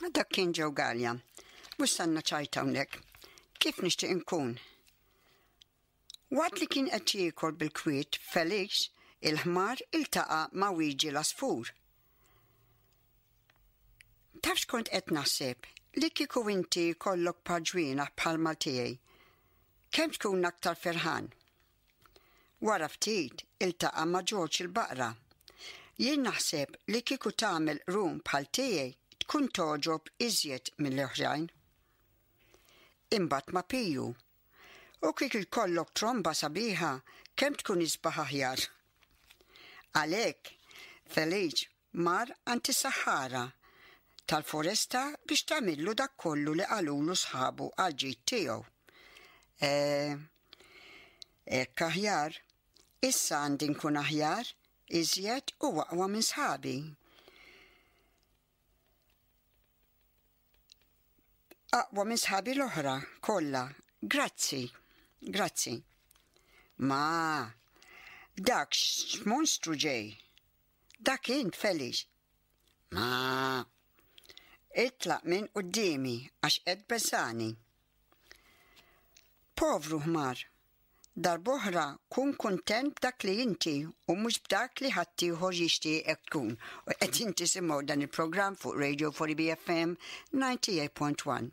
Dak kien Joe Galea. Mhux sanna ċajta hawnhekk. Kif nixtieq inkun? Waqt li kien qed jiekol bil-kwiet, Felix il-ħmar iltaqa' ma' Wiġi l-għasfur. Taf x'kont qed naħseb? Li kieku inti jkollok par ġwienaħ bħalma tiegħi, kemm tkun aktar ferħan? Wara ftit iltaqa' ma' Ġorġ il-baqra. Jien naħseb li kieku tagħmel qrun bħal tiegħi tkun togħġob iżjed mill-oħrajn. Imbagħad ma' Piju. U kieku jkollok tromba sabiħa kemm tkun isbaħ aħjar. Għalhekk, Feliċ mar għand is-saħħara tal-foresta biex tagħmillu dak kollu li qalulu sħabu għall-ġid tiegħu. Eh, hekk aħjar. Issa għandi nkun aħjar, iżjed u aqwa minn sħabi. Aqwa minn sħabi l-oħra kollha. Grazzi, grazzi. Ma, dak x'monstru ġej. Dak int, Felix. Ma, itlaq minn quddiemi għax qed tbeżżagħni. Povru ħmar. Darb'oħra kun kuntent b'dak li inti u mhux b'dak li ħaddieħor jixtieqek tkun. U qegħdin tisimgħu dan il-programm fuq Radio 4 BFM 98.1.